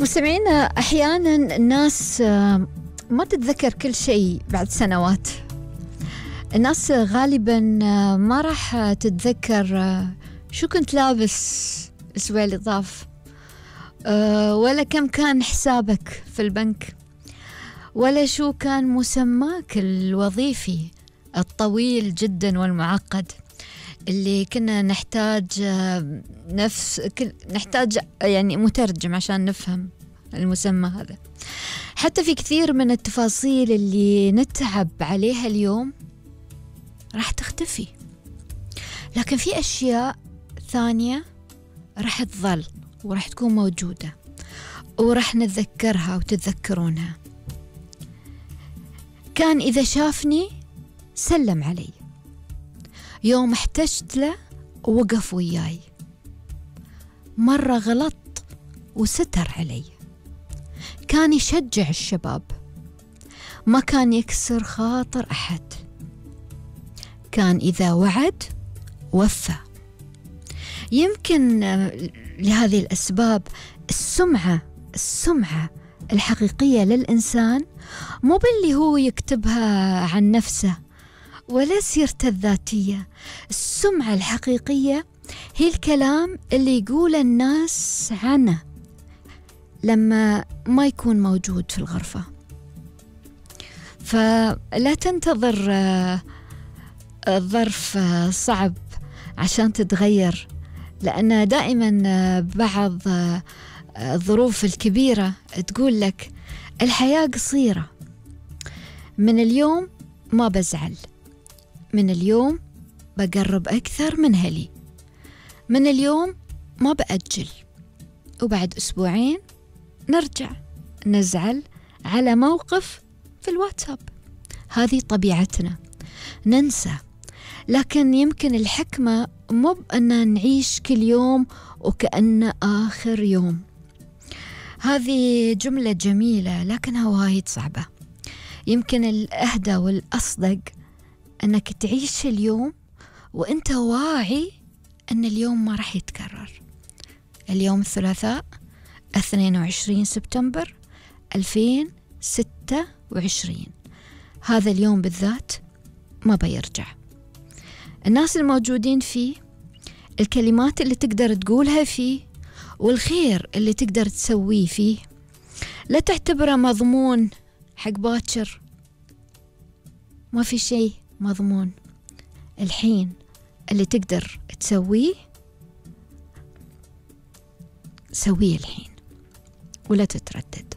مستمعينا، أحيانا الناس ما تتذكر كل شيء بعد سنوات. الناس غالبا ما راح تتذكر شو كنت لابس الأسبوع اللي طاف، ولا كم كان حسابك في البنك، ولا شو كان مسماك الوظيفي الطويل جدا والمعقد اللي كنا نحتاج نحتاج يعني مترجم عشان نفهم المسمى هذا. حتى في كثير من التفاصيل اللي نتعب عليها اليوم راح تختفي، لكن في أشياء ثانية راح تظل وراح تكون موجودة وراح نتذكرها وتتذكرونها. كان إذا شافني سلم علي، يوم احتجت له وقف وياي، مرة غلط وستر علي، كان يشجع الشباب، ما كان يكسر خاطر أحد، كان إذا وعد وفى. يمكن لهذه الأسباب السمعة الحقيقية للإنسان مو باللي هو يكتبها عن نفسه ولا سيرته الذاتية. السمعة الحقيقية هي الكلام اللي يقول الناس عنه لما ما يكون موجود في الغرفة. فلا تنتظر ظرف صعب عشان تتغير، لأن دائما بعض الظروف الكبيرة تقول لك الحياة قصيرة، من اليوم ما بزعل، من اليوم بقرب أكثر من هلي، من اليوم ما بأجل، وبعد أسبوعين نرجع نزعل على موقف في الواتساب. هذه طبيعتنا، ننسى. لكن يمكن الحكمة مو بأن نعيش كل يوم وكأنه آخر يوم. هذه جملة جميلة لكنها وايد صعبة. يمكن الأهدى والأصدق أنك تعيش اليوم وأنت واعي أن اليوم ما راح يتكرر. اليوم الثلاثاء 22 سبتمبر 2026، هذا اليوم بالذات ما بيرجع. الناس الموجودين فيه، الكلمات اللي تقدر تقولها فيه، والخير اللي تقدر تسويه فيه، لا تعتبره مضمون حق باكر. ما في شيء مضمون. الحين اللي تقدر تسويه سويه الحين ولا تتردد.